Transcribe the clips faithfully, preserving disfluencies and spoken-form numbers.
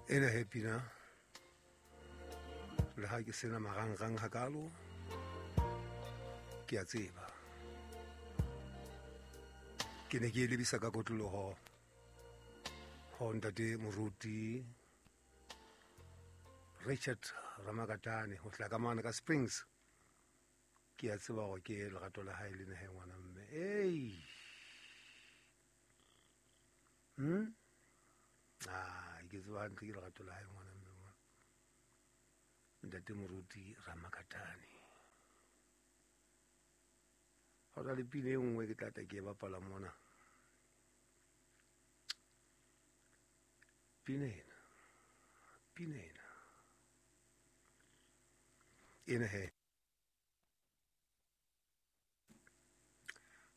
Ena he pina le ha ke sena marangrang hakalo, ke a tseba ke ne ke e lebisa ka kotloloho ho ntate moruti Richard Ramakatane ho hlaka mane ka Springs. Ke a tseba hore ke lerato la hae le nahe ngwana mme. Ei. Hmm? Ah, ke tseba hantle ke lerato la hae ngwana mme mona. Ntate moruti Ramakatane. Ha o le pina e nngwe ke tla tla ke e bapala mona. Pina ena. Pina ena. Ena he.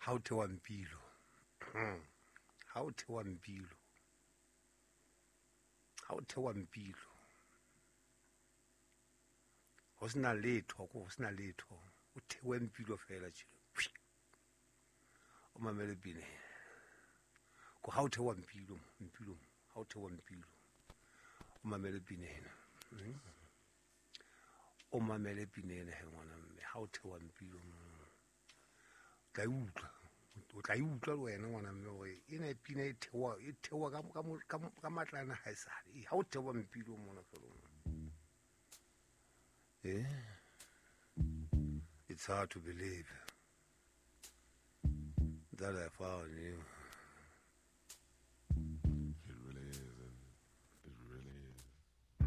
Ha o thewa mpilo. Ha o thewa mpilo. Ha o thewa mpilo. Ho sena letho, ko ho sena letho. O thewe mpilo fela tjhe. O mamele pina. Ko ha o thewa mpilo, mpilo, ha o thewa mpilo. O mamele pina ena. O mamele pina ena he ngwana mme. Ha o thewa mpilo. Tla utlwa. O tla utlwa le wena ngwana mme hore ena pina e thewa, e thewa ka ka ka matlana ha esale. Ha o thewa mpilo mona fela. Eh? It's hard to believe that I found you.